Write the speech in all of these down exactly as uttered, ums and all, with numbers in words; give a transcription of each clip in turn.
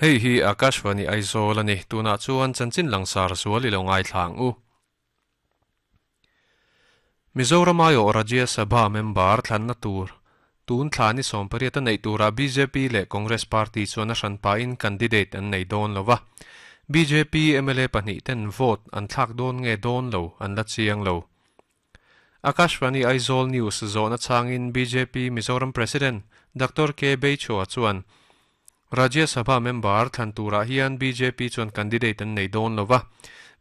Hei hi Akashvani Aizawl ani tuna chuan chanchin langsar zual ilo ngai thlang u. Mizoram aio Rajya Sabha member thlanna tur tun thlani sawmpariat a neih tura B J P leh Congress Party chuan a hranpa in candidate an nei dawn lova. B J P M L A pahnih ten vote an thlak dawn nge dawn lo an la chiang lo. Akashvani Aizawl News zawhna changin B J P Mizoram President Doctor K Beichhua chuan Rajya Sabha member thlan turah hian B J P chuan candidate an nei dawn lova.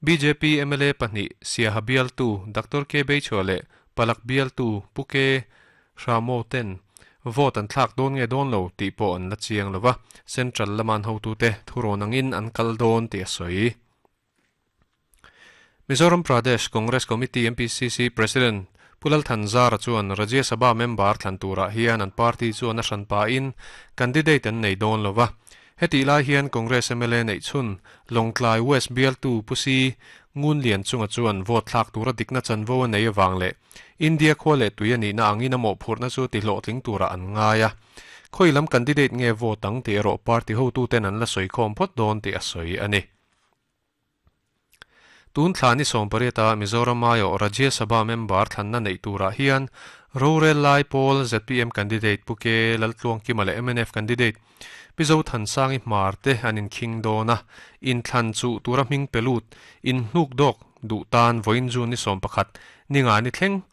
B J P M L A pahnih Siaha bialtu Doctor K Beichhua leh Palak bialtu Pu K Hramo ten vote an thlak dawn nge dawn lo tih pawh an la chiang lova, central laman hotute thurawn angin an kal dawn tih a sawi. Mizoram Pradesh Congress Committee M P C C President Pu Lal Thanzara chuan Rajya Sabha member thlan turah hian an party chuan a hranpa in candidate an nei dawn lova. Heti lai hian Congress M L A nei chhun Lawngtlai West bialtu Pu C Ngunlianchunga chuan vote thlak tura dikna chanvo a nei awang leh India khua leh tui ani na angin a mawhphurhna chu ti hlawhtling tura an ngai a. Khoi lam candidate nge vote ang tih erawh party hotu ten an la sawi khawm phawt dawn tih a sawi ani. Tun thlani sawmpariata Mizoram aio Rajya Sabha member thlanna nei turah hian Rorel Lai Pawl Z P M candidate Pu K Laltluangkima leh M N F candidate Pi Zothansangi Hmar te an inkhing dawn a. In thlan chu tura hming pelut in hnuk dawk duh tan vawiin June ni sawm pakhat ninga ni thleng.